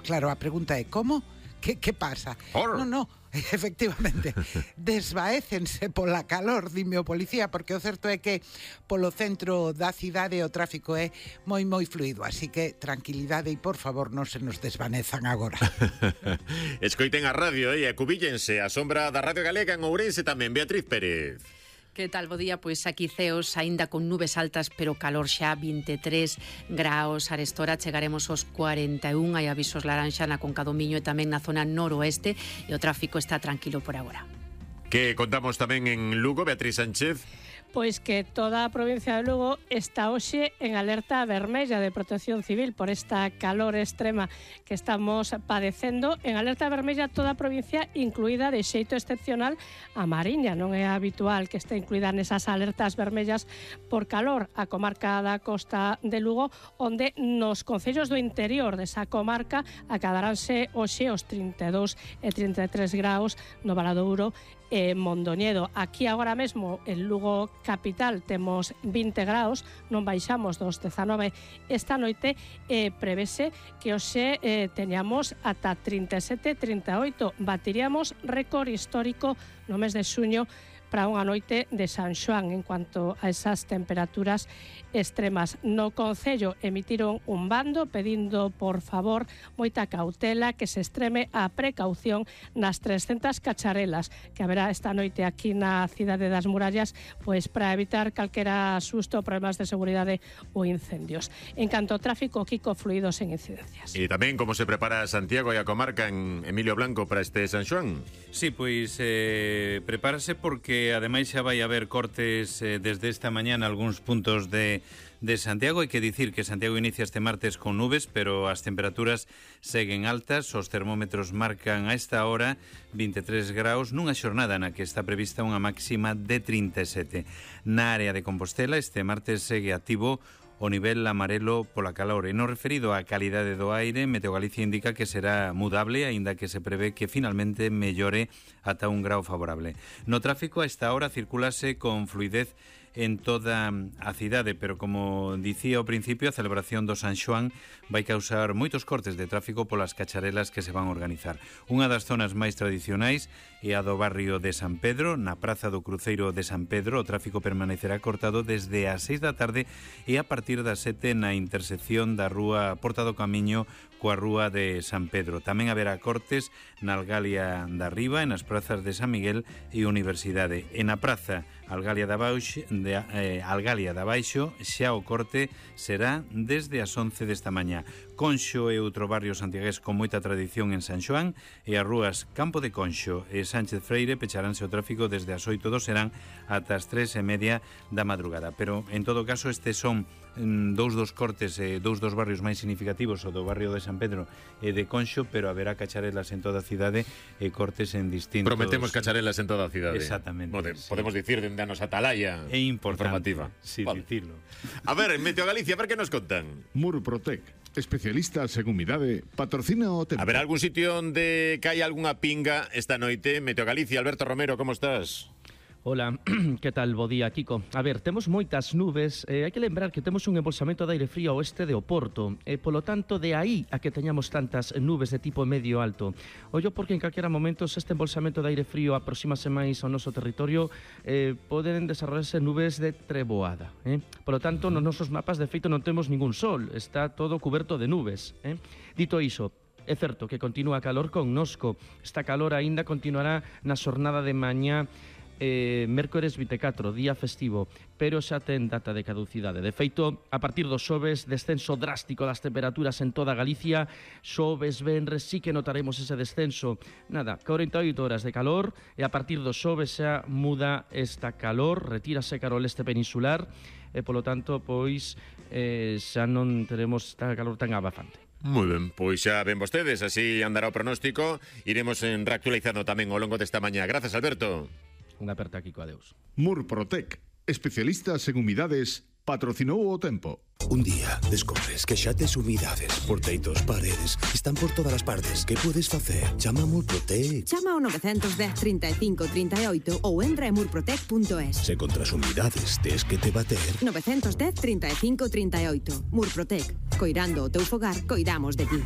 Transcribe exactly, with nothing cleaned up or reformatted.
claro, a pregunta é como? Que, que pasa? Or. Non, non, efectivamente, desvaécense pola calor, dime o policía, porque o certo é que polo centro da cidade o tráfico é moi, moi fluido, así que tranquilidade e, por favor, non se nos desvanezan agora. Escoiten a radio e acubíllense a sombra da Radio Galega en Ourense tamén, Beatriz Pérez. Que tal, bo día? Pois aquí ceos aínda con nubes altas, pero calor xa, vinte e tres graos. Arestora chegaremos aos cuarenta e un, hai avisos laranxa na Conca do Miño e tamén na zona noroeste, e o tráfico está tranquilo por agora. Que contamos tamén en Lugo, Beatriz Sánchez? Pois que toda a provincia de Lugo está hoxe en alerta vermella de protección civil por esta calor extrema que estamos padecendo. En alerta vermella toda a provincia, incluída de xeito excepcional a Mariña. Non é habitual que este incluída nesas alertas vermellas por calor a comarca da Costa de Lugo, onde nos concellos do interior desa comarca acadaránse hoxe os trinta e dous e trinta e tres graus no Valadouro e Mondoñedo. Aquí agora mesmo en Lugo capital temos vinte graus, non baixamos dos dezanove esta noite e prevese que hoxe eh, teñamos ata trinta e sete, trinta e oito. Batiríamos récord histórico no mes de xuño para unha noite de San Xoán en cuanto a esas temperaturas extremas. No Concello emitiron un bando pedindo, por favor, moita cautela, que se extreme a precaución nas trescentas cacharelas que haberá esta noite aquí na cidade das Murallas, pois para evitar calquera susto, problemas de seguridade ou incendios. En canto ao tráfico, Kiko, fluidos en incidencias. E tamén como se prepara Santiago e a comarca en Emilio Blanco para este San Xoán? Sí, pois eh, prepárase porque ademais xa vai haber cortes eh, desde esta mañá en algúns puntos de, de Santiago. Hai que dicir que Santiago inicia este martes con nubes, pero as temperaturas seguen altas. Os termómetros marcan a esta hora vinte e tres graus nunha xornada na que está prevista unha máxima de trinta e sete. Na área de Compostela este martes segue activo o nivel amarelo pola calor. E no referido á calidade do aire, Meteogalicia indica que será mudable, aínda que se prevé que finalmente mellore ata un grau favorable. No tráfico, a esta hora circulase con fluidez en toda a cidade, pero como dicía ao principio, a celebración do San Xoán vai causar moitos cortes de tráfico polas cacharelas que se van a organizar. Unha das zonas máis tradicionais é a do barrio de San Pedro. Na praza do Cruceiro de San Pedro o tráfico permanecerá cortado desde as seis da tarde e a partir das sete na intersección da rúa Porta do Camiño coa rúa de San Pedro. Tamén haberá cortes na Algalia da Riba, e nas prazas de San Miguel e Universidade. E na praza Algalia da Baixo, de, eh, Algalia da Baixo, xa o corte será desde as once desta mañá. Conxo é outro barrio santiagués con moita tradición en San Xoán, e as rúas Campo de Conxo e Sánchez Freire pecharánse o tráfico desde as oito do serán ata as tres e media da madrugada. Pero, en todo caso, estes son mm, dous dos cortes, eh, dous dos barrios máis significativos, o do barrio de San Pedro e de Conxo, pero haberá cacharelas en toda a cidade e cortes en distintos... Prometemos cacharelas en toda a cidade. Exactamente. Pode, sí. Podemos dicir dende a nosa atalaya é importante informativa. Sí, vale. dicirlo. A ver, en Meteo Galicia, a ver que nos contan. Murprotec, especialistas en humidade, patrocina o tempo. A ver, algún sitio onde cae algunha pinga esta noite. Meteo Galicia, Alberto Romero, como estás? Hola, que tal? Bo día, Kiko. A ver, temos moitas nubes, eh, hai que lembrar que temos un embolsamento de aire frío ao oeste de Oporto, e polo tanto de aí a que teñamos tantas nubes de tipo medio alto. Ollo porque en calquera momento se este embolsamento de aire frío aproximase máis ao noso territorio, eh, poden desarrollarse nubes de treboada, eh? Polo tanto, nos nosos mapas de feito non temos ningún sol, está todo cuberto de nubes, eh? Dito iso, é certo que continúa calor connosco. Esta calor aínda continuará na xornada de mañá Eh, mércores vinte e catro, día festivo, pero xa ten data de caducidade. De feito, a partir dos xoves, descenso drástico das temperaturas en toda Galicia. Xoves, venres, sí que notaremos ese descenso. Nada, corenta e oito horas de calor, e a partir dos xoves xa muda esta calor, retírase cara ao leste peninsular, e polo tanto, pois, eh, xa non teremos esta calor tan abafante. Moi ben, pois xa ven vostedes, así andará o pronóstico. Iremos en reactualizando tamén ao longo desta mañá. Grazas, Alberto. Unha aperta, Kiko, adeus. Murprotec, especialistas en humidades, patrocinou o tempo. Un día descobres que xa tes humidades por teitos, paredes, están por todas as partes. Que podes facer? Chama a Murprotec. Chama ao nove dez, trinta e cinco, trinta e oito ou entra en murprotec punto es. Se contra as humidades tes que te bater. nove dez, trinta e cinco, trinta e oito. Murprotec. Coirando o teu fogar, coidamos de ti.